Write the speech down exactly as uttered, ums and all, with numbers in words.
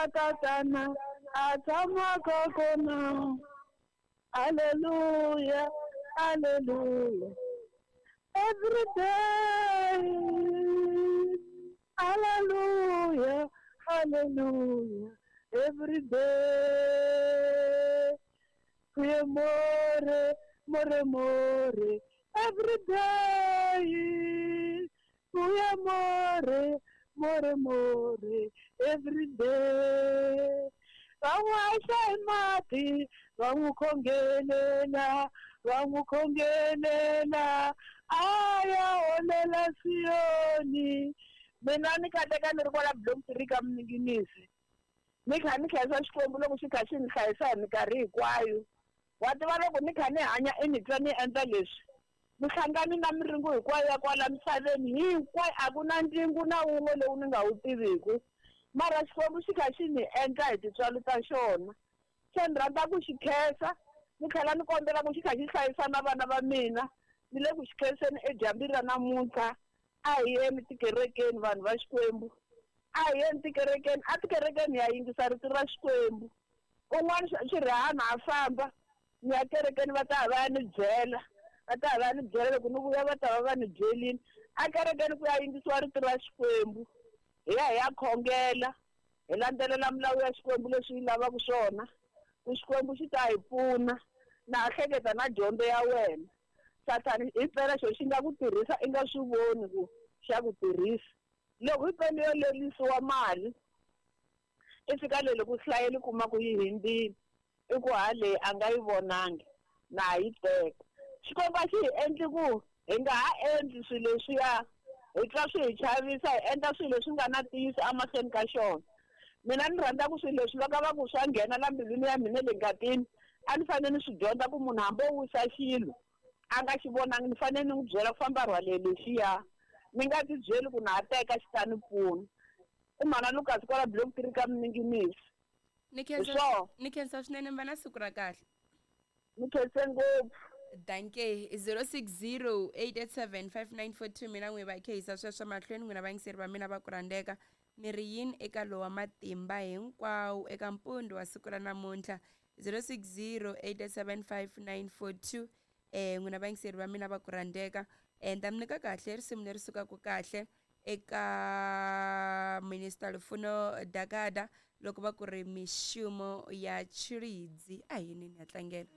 La tatana a tshamaka kona. Hallelujah, hallelujah. Every day. Hallelujah, hallelujah. Every day. We more, more, more. Every day. We more, more, more. Every day. Va n'wi haxa hi mati, va n'wi khongelela, va n'wi khongelela, a ya holela Siyoni. Mina ni kateka ni ri kwala Bloemfontein ka Mninginisi. Ni kha ni khensa Xikwembu loko xi kha xi ni hlayisa hi minkarhi hinkwayo. Wa tiva loko ni kha ni hanya i ni twa ni endla leswi. Ni hlangani na miringo hinkwayo ya kwala misaveni hinkwayo, a ku na ndzingo na wun'we lowu ni nga wu tiviku. Mara Xikwembu xi kha xi ni endla hi tintswalo ta xona. Se ni rhandza ku xi khensa, ni tlhela ni kombela ku xi kha xi hlayisa na vana va mina. Ni le ku xi khenseni edyambini ra namuntlha. A hi yeni tikerekeni vanhu va Xikwembu. A hi yeni tikerekeni, a tikerekeni ya yingisa rito ra Xikwembu. Un'wana xirihana a famba, ni ya kerekeni va ta va ya ni byela. Va ta va ni byela loko ni vuya va ta va va ni byelini. A kerekeni ku ya yingisiwa rito ra Xikwembu. Hi ya hi ya khongela, hi landzelela milawu ya Xikwembu leswi yi lavaka swona. Ku Xikwembu xi ta hi pfuna. Na ha hleketa na dyondzo ya wena. Sathani hi mpela xo xi nga ku tirhisa i nga swi voni ku xa ku tirhisa. Loko hi mpela yo lerisiwa mali, i fika le ku hlayeli kuma ku yi hindzile, i ku ha leyi a nga yi vonangi, na ha yi teka. Xikwembu a xi hi endli ku hi nga ha endli swilo leswiya, hi twa swi hi chavisa, hi endla swilo leswi nga na ntiyiso emahlweni ka xona. Mina ni rhandza ku swilo leswi loko va ku swa nghena la mbilwini ya mina le ngatini, a ni fanele ni swi dyondza ku munhu hambi o wisa xilo a nga xi vonangi, ni fanele ni n'wi byela ku famba rhwale lexiya. Ni nga ti byeli ku na ha teka xi ta ni pfuna. I mhana Lucas kwala Bloemfontein ka Mninginisi. Ni khensa, ni khensa swinene, mi va na siku ra kahle. Ni khense ngopfu. Danke. zero six zero eight eight seven five nine four two. Mina n'wi va khehisa sweswo mahlweni n'wina vayingiseri va mina va ku rhandzeka. Mi ri yini eka lowa matimba hinkwawo eka mpundu wa siku ra namuntlha? zero six zero eight eight seven five nine four two. Eh n'wina vayingiseri va mina va ku rhandzeka. Eh ni ta mi nyika kahle risimu leri sukaka kahle eka Minister Lufuno Dagada loko va ku ri mixumo ya Tshilidzi. A hi yini ni ya tlangela.